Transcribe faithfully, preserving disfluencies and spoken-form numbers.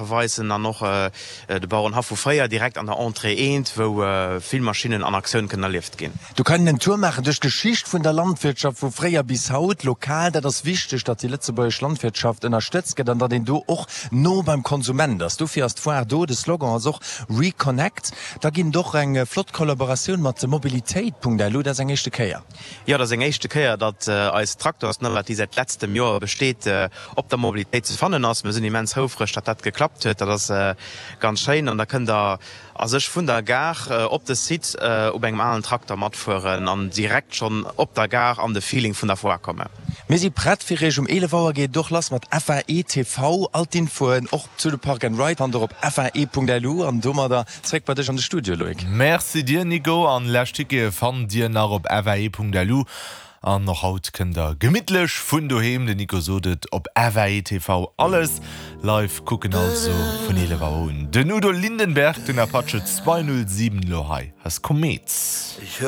Saache weisen an och de Bauerenhaff vu fréier direkt an der Entrée eent, wou vill Maschinnen an Aktioun kënnen erlieft ginn. Do kann een en Tour maachen duerch d'Geschicht vun der Landwirtschaft vu fréier bis haut, lokal. Dat ass wichteg, datt déi lëtzebuergesch Landwirtschaft ënnerstëtzt gëtt an datt een do och no beim Konsument ass. Dofir ass d'Foire do. De Slogan ass och Reconnect. Da ginn et och eng flott Kollaboratioun mat Mobilitéit.lu. Dat ass eng éischte Kéier. Jo, dat ass eng éischte Kéier, datt eis Traktorsnavette, déi säit letztem Joer besteet, op der Mobilitéit ze fannen ass. Mir sinn immens houfreg, datt dat geklappt huet. Dat ass ganz schéin. An da kënnt Der a sech vun der Gare op de Site op engem alen Trakter matfueren an direkt schonn op der Gare an de Feeling vun der Foire kommen. Mir si prett fir Iech. Um eelef Auer geet et och lass mat F A E T V. All d'Infoen och zu de Park and Ride fannt der op F A E Punkt L U. An domadder zréck bei dech an de Studio, Loïc. Merci dir, Nico. An lescht Tickete fannt dir nach op F A E Punkt L U. An och haut kënnt der gemittlech vun doheem, den Nico sot et, op F A E T V alles live kucken, also vun eelef Auer un. Den Udo Lindenberg, den Apache zweihunnertsiwen, lo hei ass Komet.